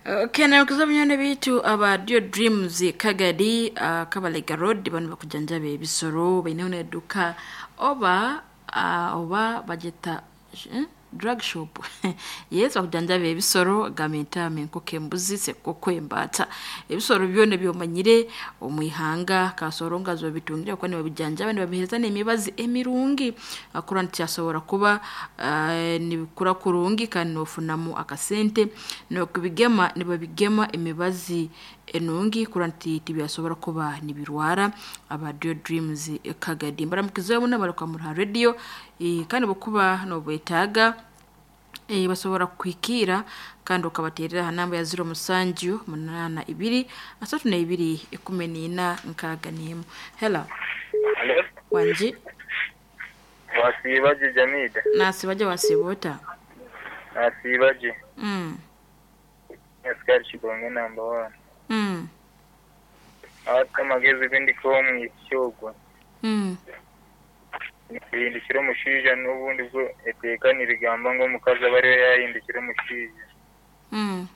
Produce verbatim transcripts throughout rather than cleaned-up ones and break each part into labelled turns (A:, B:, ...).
A: Kenakuza binyone bitu aba Dio Dreams Kagadi uh, Kabalega Road bano bakujanjaba ebisoro baineho n'edduka oba uh, oba bagyeta eh? Drug shop. Yes, bakujanjaba ebisoro gamba entaama, enkoko, embuzi, sekoko, embaata, ebisoro byona ebyomanyire omu ihanga kasoro nga zobitungire kuba nibabijanjaba nibabiheereza n'emibazi emirungi akurora nti kyasobora kuba uh, nibikura kurungi kandi nofunamu akasente. N'okubigema nibabigema emibazi enungi kurora nti tibyasobora kuba nibirwara. Aba Dio Dreams Kagadi mbaramukizeho muno abarikuba muri ha radio, eh, kandi bwokuba nobwetaaga eh, basobora kukuhikiira kandi okabateerera aha namba ya ziro musanju munaana ibiri asatu n'ebiri ikumi n'ina nkaaga n'emu. Hello.
B: Hello.
A: Wangi.
B: Wasiibaje Jamida?
A: Nasiibaje wasiiba ota?
B: Nasiibaje.
A: Mm.
B: Askari Kigonge number one.
A: Mm.
B: Ate amagezi g'endikuha omwishiki ogwo
A: Mm.
B: nihindukira omushaija n'obundi bwo eteeka nirigamba ngu omukazi aba ariwe yaahindukira omushaija.
A: Mm.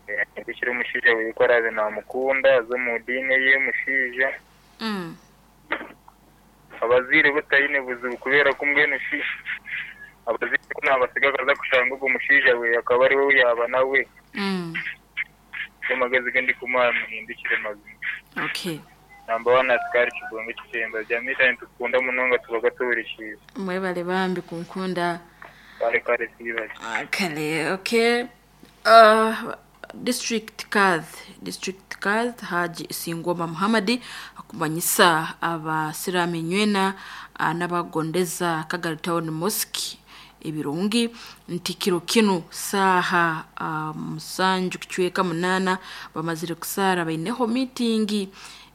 B: Yahindukira omushaija we ku araabe naamukunda aze omu diini eye y'omushaija.
A: Mm.
B: Abazaire bo taine buzibu kubera ko mbwenu shi abazaire ku naabasiga akaza kushanga ogwo mushaija we akaba ariwe ou yaaba nawe.
A: Mm.
B: Nigo magezi g'endikumuha muhindukire mazima.
A: Okay.
B: Number one Askari Kigonge Kitemba. Jamida nitukukunda munonga tubaga tuhurikiize.
A: Mwebale bambi kunkunda.
B: Kare kare siibaje.
A: Ah, Kale, okay. Uh, District Kadh, District Kadh Haji Singoma Muhammadi akumanyisa abasiraamu enywena ah, n'abagondeza Kagari Town Mosque ebirungi nti kiro kinu saaha uh, musanju kicweka munaana bamazire kusaara baineho miitingi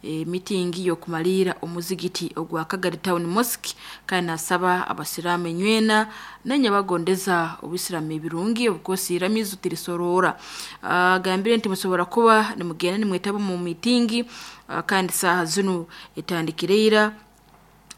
A: e, miitingi y'okumaliira omuzigiti ogwa Kagari Town Mosque kandi nasaba abasiraamu enywena nanye bagondeza obusiraamu ebirungi obukosi iramizo tirisorora. Agambire nti musobora kuba nimugenda nimwetaba mu miitingi ah, kandi saaha zinu etandikire ira.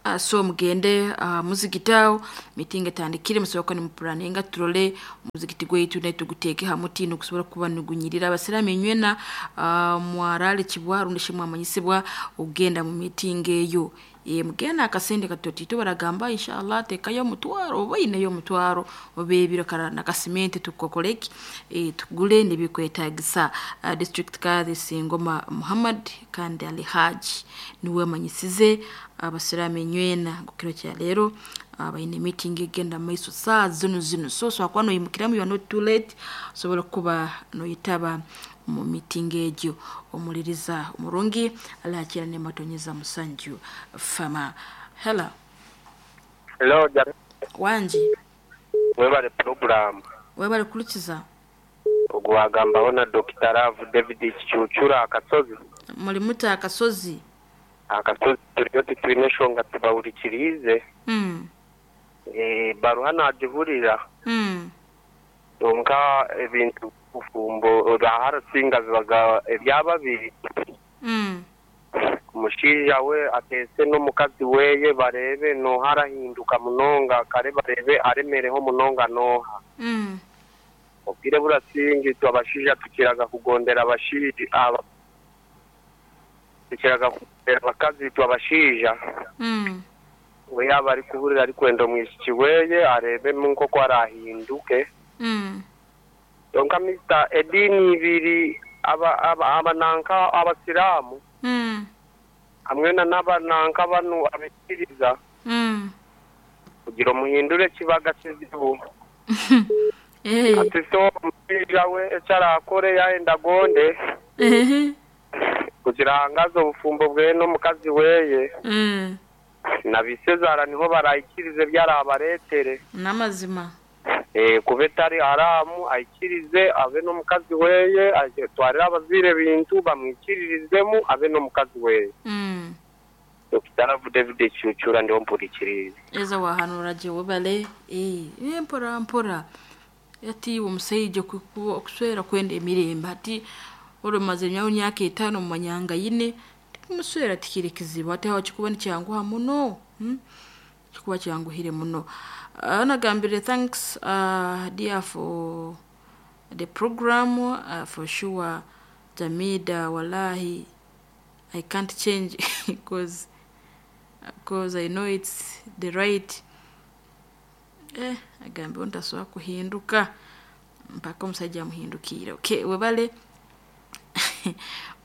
A: Uh, so mugende uh, muzigiti awo mitingi etandikire musobola kuba nimupuraninga turole omuzigiti gwaitu naitwe tuguteeke ha mutindo gusobora kuba nigunyirira. Abasiraamu enywena uh, mwaraalikibwa rundi shi mwamanyisibwa okugenda mu mitingi eyo. E, mugenda akasente katotito baragamba inshallah tekayo omutwaro oba oineyo omutwaro oba ebiro kara nakasimente tukokoreki e, tugule nibikwetagisa. Uh, District Kadhi Singoma Muhammad kandi Ali Haji niwe amanyisize abasiraamu enywena ngu kiro kya leero uh, baine meeting egenda mumaiso saa zinu zinu, so osobola kuba noyimukiramu you are not too late, osobola kuba noyetaba mu meeting egyo. Omuliriza omurungi alakira nematonyeza musanju fama. Hello.
C: Hello, Jamida.
A: Wangi.
C: Webale program.
A: Webale kulikiza.
C: Ogwo wagambaho na Dokita Love David Kicucura Akasozi.
A: Muri muta Akasozi.
C: Akasozi turiyo titwine enshonga tubahurikiriize.
A: Mm.
C: Eh, baruha naagihurira.
A: Mm.
C: Kwonka ebintu bufumbo harasinga bibaga ebya babiri.
A: Mm.
C: Omushaija we ateese n'omukazi weye barebe nooha arahinduka munonga kare barebe aremereho munonga nooha.
A: Mm.
C: Obwire burasinga itwe abashaija tukiraga kugondera abashaija aba tukiraga kugondera abakazi itwe abashaija.
A: Mm.
C: We yaaba arikuhurira arikwenda omwishiki weye areebemu nk'oku arahinduke.
A: Mm.
C: Kwonka Mister ediini ibiri aba aba abananka abasiraamu
A: Mm.
C: hamwe na n'abananka banu abikiriza
A: Mm.
C: kugira omuhindure kibaga kizibu.
A: Eh.
C: Ati so omushaija we eki araakore yayenda agonde
A: Ehe.
C: kugira ahangaze obufumbo bweye n'omukazi weye
A: Mm.
C: na bisezaara niho barahikirize ebi arabareetere.
A: N'amazima.
C: Eh, kuba etari haramu aikirize abe n'omukazi weye atwarire abazaire ebintu bamwikiririzemu abe n'omukazi weye.
A: Mm.
C: Dokita Love David Kicucura ndiho mpurikirize.
A: Eza wahanura gye webale eh, eh, mpora mpora ati omusaija okuswera kwenda emirembe ati oromaze nyawe myaka etaano mu manyanga yine omuswera tikiri kizibu ati aho kikuba nikyanguha muno, hmm? Kikuba kyanguhire muno. Uh, nagambire thanks uh, dear for the program uh, for sure Jamida wallahi I can't change because because I know it's the right eh agambe ntasobola kuhinduka mpaka omusajja amuhindukiire. Okay, webale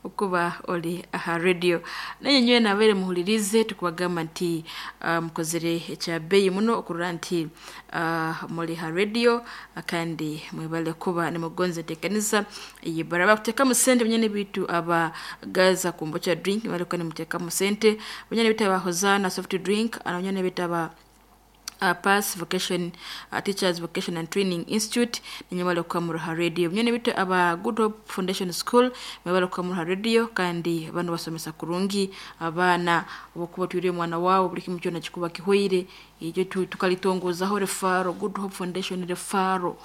A: okuba oli aha radio naye nyowe nabeere muhulirize tukubagamba nti uh, mukozere ekya muno okurora nti uh, muli ha radio kandi mwebale kuba nimugonza enteekaniza eyibara bakuteekamu sente bunyene bitu aba gaza kumbocha drink mwebale kuba nimuteekamu sente bunyene bitu aba hozana soft drink ana bunyene bitu aba uh, pass vocation uh, teachers vocation and training institute ninyamala kukamura radio nyene bitu aba Good Hope Foundation School mwebale kukamura radio kandi bano basomesa kurungi abaana obukuba twire mwana wawo buli kimu kyona kikuba kihweire ekyo tukalitongozaho refaro Good Hope Foundation refaro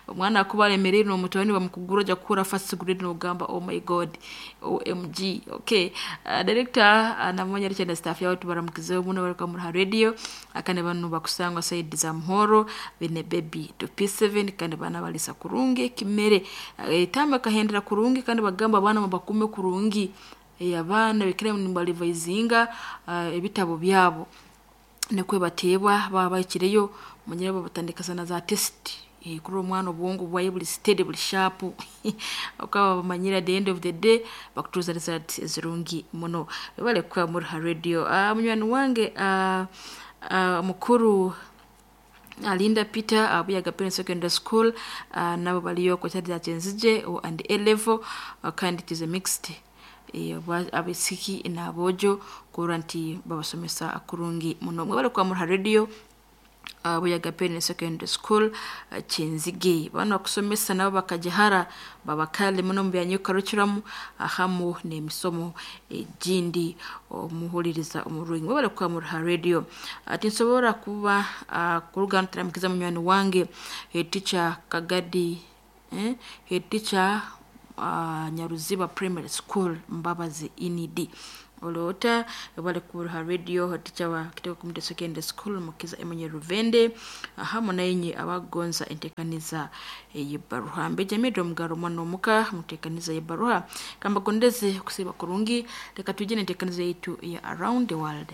A: omwana akuba alemereire n'omutwani bamukugura ojja kukura first grade n'ogamba oh my god O M G. Okay, uh, director uh, namanya Richard staff yawe tubaramukizeho muno bariko muri radio akane banu bakusangwa side za Muhoro bene baby to P seven kandi bana balisa kurungi kimere uh, tamba kahendera kurungi kandi bagamba abana bakume kurungi e, abana bikire nimbalivayizinga uh, ebitabo byabo nekwe bateebwa baba bakireyo munyere batandika sana za test e, kuri omwana obwongo bwaye buli steady buli sharp okaba bamanyira at the end of the day bakutuza result zirungi muno bale kwa muri radio. Uh, munywani wange uh, uh, mukuru Alinda Peter abuyaga Parents Secondary School uh, nabo baliyo kwa chadi za Chenzije and A level uh, kandi it is a mixed abisiki n'abojo kurora nti babasomesa kurungi muno mwebale kwa muri radio uh, Buyaga Parents Secondary School uh, Chenzige bano bakusomesa nabo bakajahara babakale muno mu byanyukarukiramu ahamu n'emisomo egindi omuhuliriza omurungi mwebale kwa muri radio. Ati nsobora kuba uh, kuruga ntaramukiza munywani wange head teacher Kagadi eh head teacher Uh, Nyaruziba Primary School Mbabazi Inidi olota bale kuruha radio teacher wa Kitego Community Secondary School Mukiza Emenye Ruvende hamo nayenye abagonza entekaniza yebaruha mbeja mido mugaro mwana omuka mutekaniza yebaruha kamba gondeze kusiba kurungi leka tujene entekaniza yetu ya around the world.